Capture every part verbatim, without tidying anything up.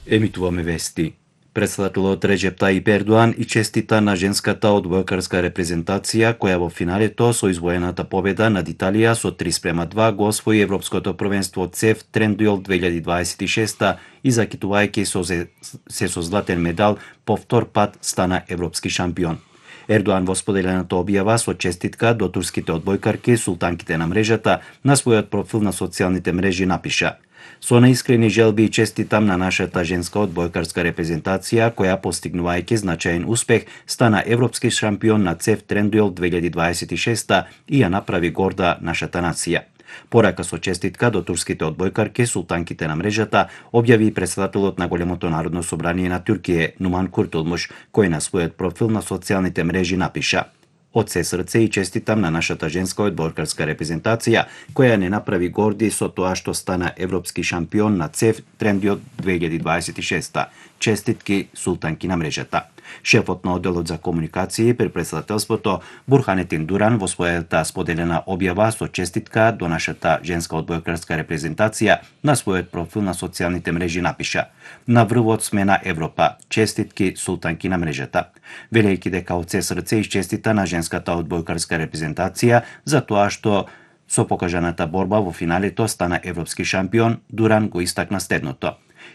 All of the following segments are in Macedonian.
Емитуваме вести. Председателот Реџеп Тајип Ердоан и честита на женската одбојкарска репрезентација која во финалето со извоената победа над Италија со три спрема два го освои Европското првенство ЦЕФ Трендуел две илјади дваесет и шеста и закитувајќи се, се со златен медал по втор пат стана европски шампион. Ердоан во споделената објава со честитка до турските одбојкарки султанките на мрежата на својот профил на социјалните мрежи напиша: "Со наискрени желби и честитам на нашата женска одбојкарска репрезентација која постигнувајќи значаен успех стана европски шампион на ЦЕФ Трендуел две илјади дваесет и шеста и ја направи горда нашата нација." Порака со честитка до турските одбојкарки султанките на мрежата објави и председателот на Големото народно собрание на Туркија Нуман Куртулмуш, кој на својот профил на социјалните мрежи напиша: "Од се срце и честитам на нашата женска одбојкарска репрезентација која не направи горди со тоа што стана европски шампион на ЦЕФ Трендуел две илјади дваесет и шеста. Честитки султанки на мрежата." Шефот на одделот за комуникации при председателството Бурханетин Дуран во својата споделена објава со честитка до нашата женска одбојкарска репрезентација на својот профил на социјалните мрежи напиша: "На врвот сме на Европа. Честитки султанки на мрежата." Велејќи дека од се срце исчестита на женската одбојкарска репрезентација за тоа што со покажаната борба во финалето стана европски шампион, Дуран го истакна следното: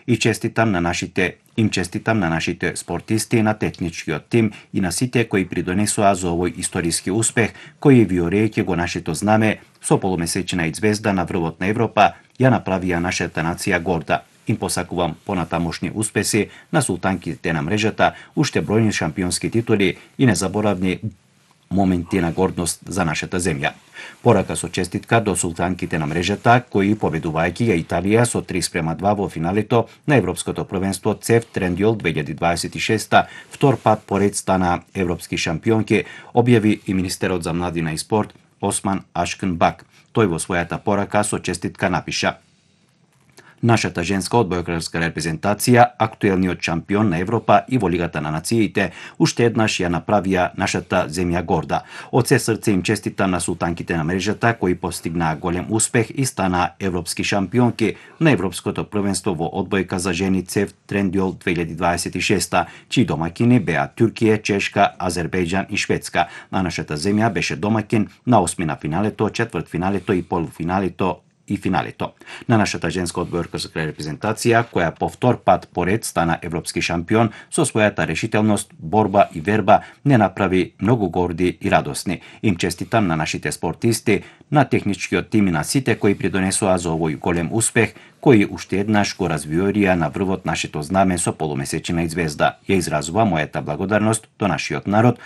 "И честитам на нашите им честитам на нашите спортисти, на техничкиот тим и на сите кои придонесоа за овој историски успех, кои виорејќи го нашето знаме со полумесечна и звезда на врвот на Европа, ја направија нашата нација горда. Им посакувам понатамошни успеси на султанките на мрежата, уште бројни шампионски титули и незаборавни моменти на гордост за нашата земја." Порака со честитка до султанките на мрежата, кои победувајќи ја Италија со три спрема два во финалето на Европското првенство ЦЕФ Трендуел две илјади дваесет и шеста, втор пат поред стана европски шампионки, објави и министерот за младина и спорт Осман Ашкын Бак. Тој во својата порака со честитка напиша: "Нашата женска одбојкарска репрезентација, актуелниот шампион на Европа и во Лигата на нациите, уште еднаш ја направија нашата земја горда. Од се срце им честитам на султанките на мрежата кои постигнаа голем успех и станаа европски шампионки на Европското првенство во одбојка за жени ЦЕФ Трендуел две илјади дваесет и шеста, чии домаќини беа Туркија, Чешка, Азербејџан и Шведска, а нашата земја беше домаќин на осми на финалето, четвртфиналето и полуфиналето и финалето. На нашата женска одбојкарска репрезентација, која по втор пат поред стана европски шампион, со својата решителност, борба и верба не направи многу горди и радосни. Им честитам на нашите спортисти, на техничкиот тим и на сите кои придонесоа за овој голем успех, кои уште еднаш го развиорија на врвот нашето знаме со полумесечина и звезда. Ја изразува мојата благодарност до нашиот народ,